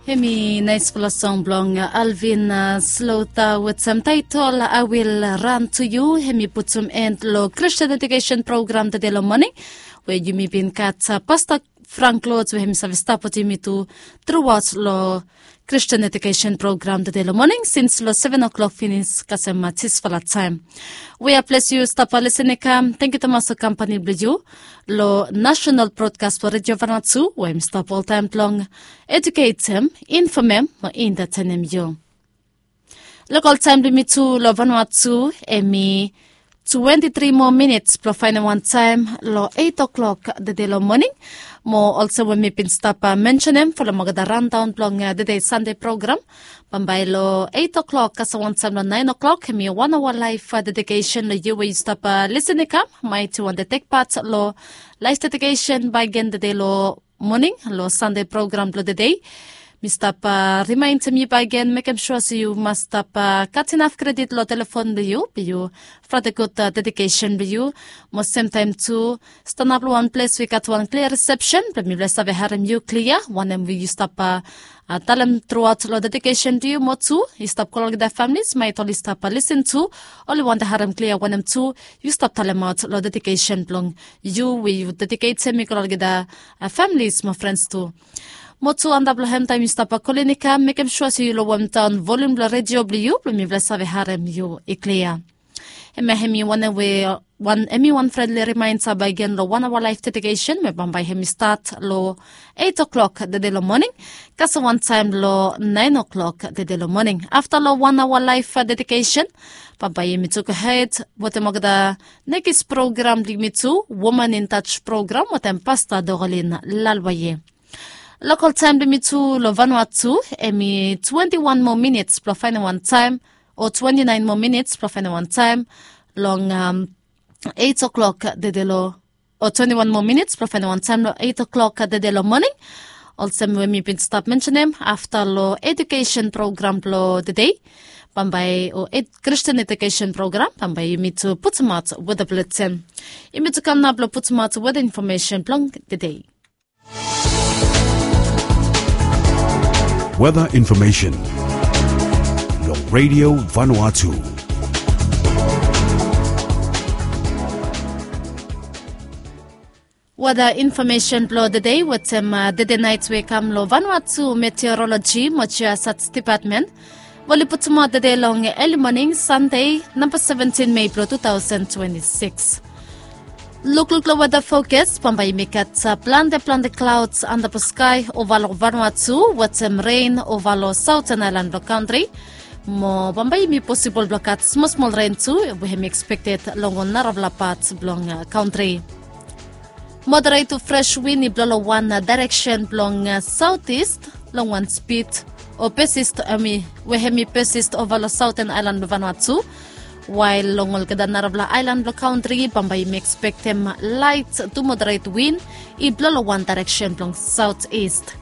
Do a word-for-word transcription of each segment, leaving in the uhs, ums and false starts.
Hemi naispela song blong Alvin Slota wetem taetol I Will Run To You. Hemi putum en long Christian Education Program tede long moning, we yumi bin gat Pasta Frank Lords we hemi save stap wetem yumi tu truaot long Christian Education Program tede long moning sins long seven o'clock finis kasem tisfala taem. We a ples yu stap lisin i kam, tengiu tumas long kampani blong yu long National Broadcast for Radio Vanuatu, we hemi stap oltaem blong eduketem, infomem mo entatenem yu. Lokal taem blong yumi tu long Vanuatu hemi twenti tri moa minits blong faenem wan taem long eit o'klok tede long moning. Mo olsem we mi bin stap mensenem folem olgeta raondaon blong tede Sande program, bambae long eit o'klok kasem wan taem long naen o'klok hemi wan aoa laef dedikesen long yu we yu stap lisin i kam. Maet yu wantem tek pat long laef dedikesen bakegen tede long moning long Sande program blong tede. Mi stap rimaenem yu bakegen, mekem sua se yu mas stap gat inaf kredit long telefon blong yu blong yu fratem gud dedikesen blong yu. Mo semtaem tu stanap long wan ples we i gat wan klia risepsen blong mifala i save harem yu klia wanem we yu stap talem truaot long dedikesen blong yu. Mo tu yu stap kol olgeta familis maet oli stap lisin tu, oli wantem harem klia wanem tu yu stap talemaot long dedikesen blong yu we yu dediketem i go long olgeta familis mo frens tu. Mo tu antap long hem taem yu stap kolin i kam, mekem sua se yu lowemdaon volium blong redio blong yu blong mifala i save harem yu i klia. Hemia hemi wanem we wan hemi wan frenli rimaenda bakegen long wan aoa laef dedikesen we bambae hemi stat long eit o'klok tede long moning kasem wan taem long naen o'klok tede long moning. Afta long wan aoa laef dedikesen, bambae yumi tu gohed wetem olgeta nekis program blong yumi tu, Woman in Touch program wetem Pasta Dorolin Lalwaye. Lokal taem blong yumi tu long Vanuatu hemi twenti wan moa minits blong faenem wan taem, o twenti naen moa minits blong faenem wan taem long eit o'klok tede long, o twenti wan moa minits blong faenem wan taem long eit o'klok tede long moning. Olsem we mi bin stap mensenem, afta long edukesen program blong tede, bambae o Christian Education Program, bambae yumi tu putumaot weda buletin. Yumi tu kam nao blong putumaot weda infomesen blong tede. Weather information long Radio Vanuatu. Weather information blong tede wetem tede naet we i kam long Vanuatu Meteorology mo Geosat Department. Oli putumaot tede long eli moning Sande namba seventin Mei blong two thousand twenty-six. Lukluk long weather forecast, bambae yumi gat plante plante clouds antap long sky ova long Vanuatu wetem rain ova long southern island blong country. Mo bambae yumi posibol blong gat smol smol rain tu we hemi expected long ol narafala pat blong country. Moderate to fresh wind i blo long wan direction blong southeast long wan speed o persist hemi we hemi persist ova long southern island blong Vanuatu. While long olgeta narafala island blong country bambae yumi expectem light to moderate wind i blo long wan direction blong southeast.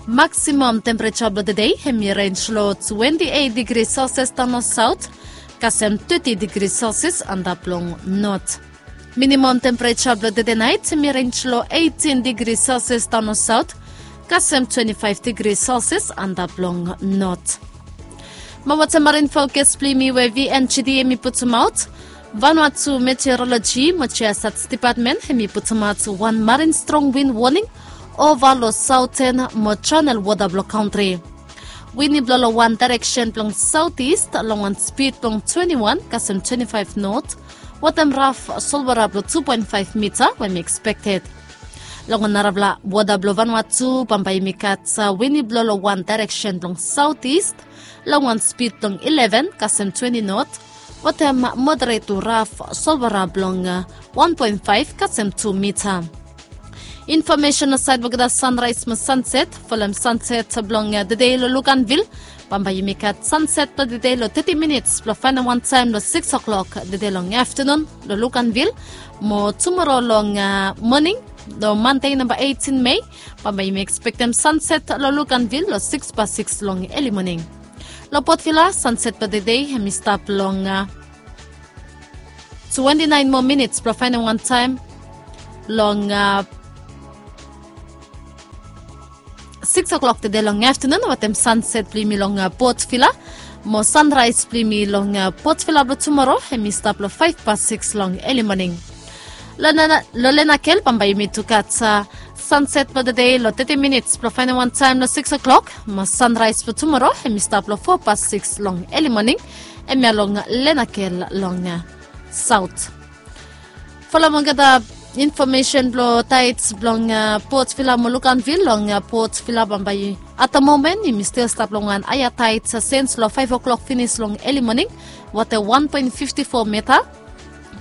Maximum temperature blong tede hemi range long twenty eight degree Celsius daon long south kasem thirty degree Celsius antap long north. Minimum temperature blong tede naet hemi range long eighteen degree Celsius daon long south kasem twenty five degree Celsius antap long north. Mo wetem marin forecast blong yumi we VNGD hemi putumaot, Vanuatu Meteorology mo Geosat Department hemi putumaot wan marin strong wind warning ova long southern mo channel wota blong country. Wind i blo long wan direction blong southeast long wan speed blong twenty one kasem twenty five north wetem raf solwara blong two point five mita we hemi expected. Long ol narafala wota blong Vanuatu bambae yumi gat wind i blo long wan direction blong southeast long wan speed blong eleven kasem twenty north wetem moderate to raf solwara blong one point five kasem two mita. Information long saed blong olgeta sunrise mo sunset. Folem sunset blong tede long Luganville. Bambae yumi gat sunset blong tede long thirty minutes blong faenem wan taem long six o'clock tede long aftenun long Luganville. Mo tumora long moning long Mande namba eighteen Mei, bambae yumi expectem sunset long Luganville long six past six long eli moning. Long Port Vila sunset blong tede hemi stap long twenty nine moa minits blong faenem wan taem long six o'clock tede long aftenun wetem sanset blong yumi long Port Vila. Mo sanraes blong yumi long Port Vila blong tumoro hemi stap long five past six long eli moning. Lo Lenakel bambae yumi tu gat sanset blong tede long thirty minits blong faenem wan taem long six o'clock. Mo sanraes blong tumoro hemi stap long four past six long eli moning. Hemia long Lenakel long saot. Folem olgeta infomesen blong taets blong Port Vila mo Luganvil long Port Vila bambae. At the moment yumi stil stap long wan haea taets sens long five o'clock finis long eli moning, water one point fifty four mita.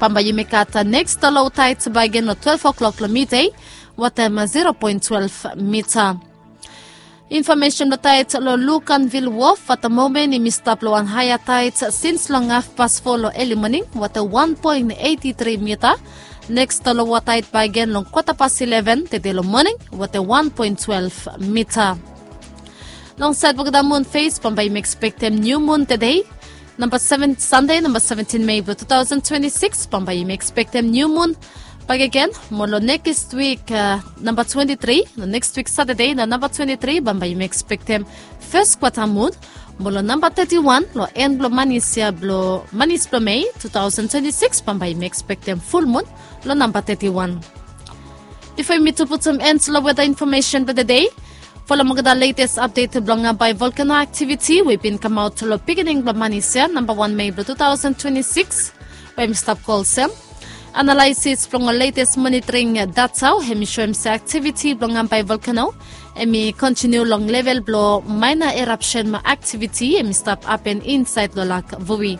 Bambae yumi gat neks lo lo taets bakegen long twelve o'clock long midei, water zero point twelve mita. Infomesen blong taets long Luganvil Wof, at the moment yumi stap long wan haea taets sens long haf past four long eli moning, water one point eighty three mita. Neks lo lo taets bakegen long kwata past eleven tede long moning, water one point twelve mita. Long saed blong olgeta mun fes bambae yumi ekspektem niu mun tede, namba seven, Sande namba seventin Mei blong two thousand twenty six, bambae yumi ekspektem niu mun bakegen. Mo long neks wik namba twenti tri, long neks wik Satade long namba twenti tri bambae yumi ekspektem fes kwata mun. Mo long namba teti wan long en blong manis ya blong manis blong Mei two thousand twenty six bambae yumi ekspektem ful mun long namba teti wan. Bifo yumi tu putum en long weta infomesen blong tede, folem olgeta letes apdet blong Ambae volkeno aktiviti we i bin kamaot long pikinini blong manis ya namba wan Mei blong two thousand twenty six, we hemi stap go olsem. Analaesis blong ol letes monitoring data hemi soem se aktiviti blong Ambae volkeno hemi kontiniu long level blong maena erapsen mo aktiviti hemi stap hapen insaed long Lak Vui.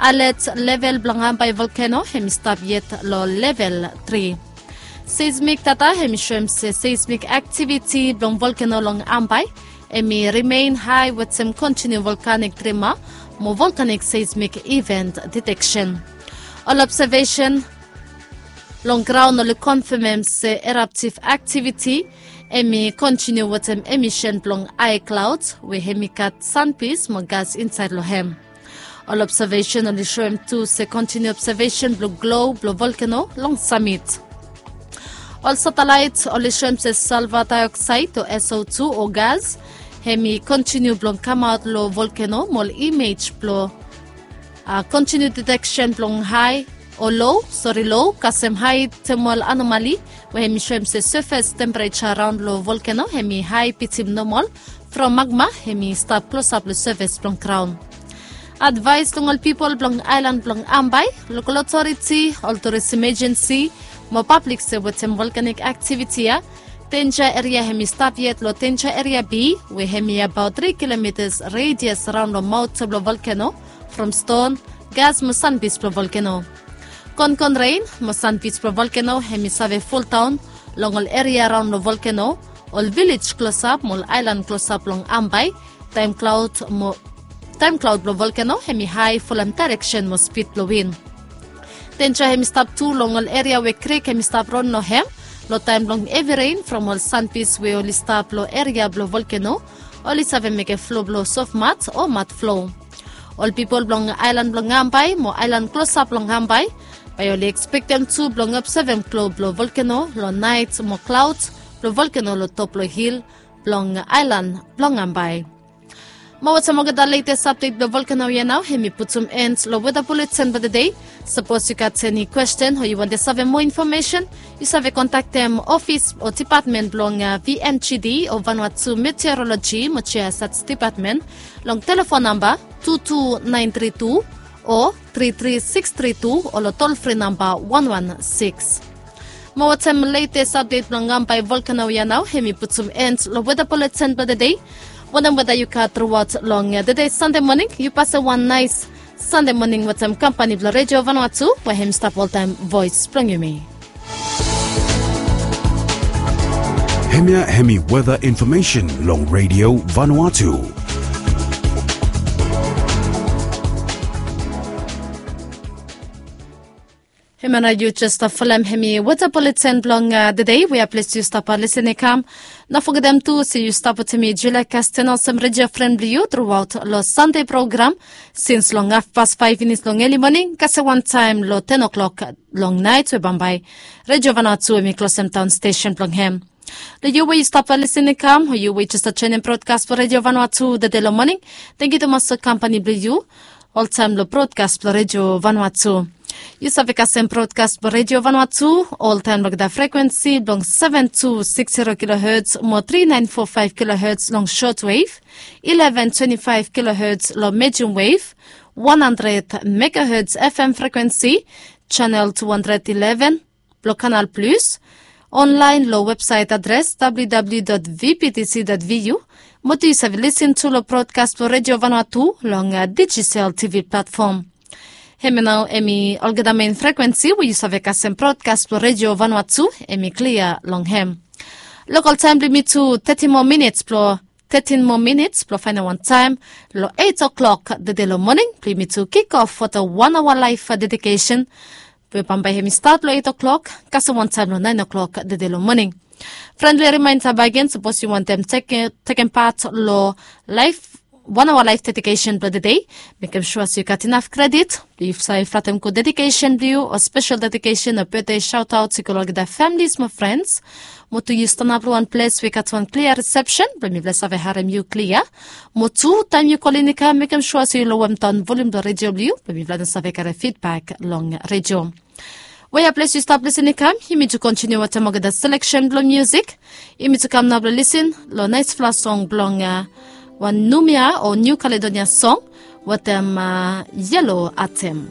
Alet level blong Ambae volkeno hemi stap yet long level tri. Seismik data hemi soem se seismik aktiviti blong volkeno long Ambae hemi rimen hae wetem kontiniu volkanik trima mo volkanik seismik iven deteksen. Ol obsevesen long graon oli konfamem se eraptiv aktiviti hemi kontiniu wetem emisen blong hae klaod we hemi gat sanpis mo gas insaed long hem. Ol obsevesen oli soem tu se kontiniu obsevesen blong glo blong volkeno long samit. Ol satelaet oli soem se salva daeoksaed o S O two o gas hemi kontiniu blong kamaot long volkeno mo ol imej blong kontiniu deteksen blong hae o lo, sori, lo kasem hae temol anomali we hemi soem se sefes tempereja raon long volkeno hemi hae bitim nomol from magma hemi stap klosap long sefes blong graon. Advaes long ol pipol blong aelan blong Ambae, lokol otoriti, ol turis imejensi mo pablik se wetem volkanik aktiviti ya, denja eria hemi stap yet long denja eria B we hemi abaot tri kilomitas redias raon long maot blong volkeno from ston, gas mo sanpis blong volkeno. Konkon ren mo sanpis blong volkeno hemi save foldaon long ol eria raon long volkeno, ol vilej klosap mo ol aelan klosap long Ambae. Taem klaod mo taem klaod blong volkeno hemi hae folem daereksen mo spid blong win. Denja hemi stap tu long ol eria we krik hemi stap ron long hem long taem blong hevi ren from ol sanpis we oli stap long eria blong volkeno, oli save mekem flo blong sofmat o mat flo. Ol pipol blong aelan blong Ambae mo aelan klosap long Ambae bae oli ekspektem tu blong obsevem glo blong volkeno long naet mo klaod blong volkeno long top blong hil blong aelan blong Ambae. Mo wetem olgeta letes apdet blong volkeno ya nao hemi putum en long weta buleten blong tede. Sapos yu gat eni kwesten o yu wantem save moa infomesen, yu save kontaktem ofis o dipatmen blong V N G D o Vanuatu Meteoroloji mo Geosat Dipatmen long telefon namba tu tu naen tri tu o tri tri siks tri tu o long tolfri namba wan wan siks. Mo wetem letes apdet blong Ambae volkeno ya nao hemi putum en long weta buleten blong tede. Wanem weta yu gat truaot long tede Sande moning, yu pasem wan naes Sande moning wetem kampani blong Redio Vanuatu we hemi stap oltaem voes blong yumi. Hemia hemi weta infomesen long Redio Vanuatu. Hemia nao yu jes stap folem hemi weta buleten blong tede we ya ples yu stap lisin i kam. No fogetem tu se yu stap wetem mi Julia Kasten olsem redio fren blong yu truaot long Sande program sins long hafpas faef finis long eli moning kasem wan taem long ten o'clock long naet we bambae Redio Vanuatu hemi klosem daon stesen blong hem. Long yu we yu stap lisin i kam o yu we yu jes joinim brodkas blong redio vanua tu dede long moning, tengiu tumas long kampani blong yu oltaim long brodkas blong redio vanua tu. Yu save kasem brodkas blong redio vanua tu oltaim long da frekuensi blong seven two six zero kilohertz mo three nine four five kilohertz long shortwave, eleven twenty five kilohertz long medium wave, one hundred megahertz F M frekuensi, channel two hundred eleven blong Kanal Plus, online long website adres W W W dot V P T C dot V U, mo tu yu save lisin tu long brodkas blong redio vanua tu long Digicel T V platform. Hemia nao em i olgeta mein frekuensi we yu save kasem brodkas blong redio vanua tu em i klia long hem. Lokal taim blong mi tu thirty moa minits blong thirteen moa minits blong faindaot wan taim long eight o'clock dede long moning blong mi tu kik of fo da wan aoa laif dedikesen we bambae hem i stat long eight o'clock kasem wan taim long nine o'clock dede long moning. Frendli rimainda bagen sapos yu wantem tekem pat long laif wan aoa laif dedikesen blong dede, mekem sua se yu gat inaf kredit blong yu save flatem gud dedikesen blong yu o spesel dedikesen o betde saotaot i go long olgeta familis mo frens. Mo tu yu stanap long wan ples we i gat wan klia risepsen blong mifala save harem yu klia. Mo tu taim yu kolin i kam mekem sua se yu lowemdaon volim blong redio blong yu blong mifala no save karim fidbak long redio. Wea ples yu stap lisin i kam yumi tu kontiniu wantaim olgeta seleksen blong musik. Yumi tu kam nao blong lisin long naisfala song blong wan numia o niu kaledonia song wantaim yelo atem.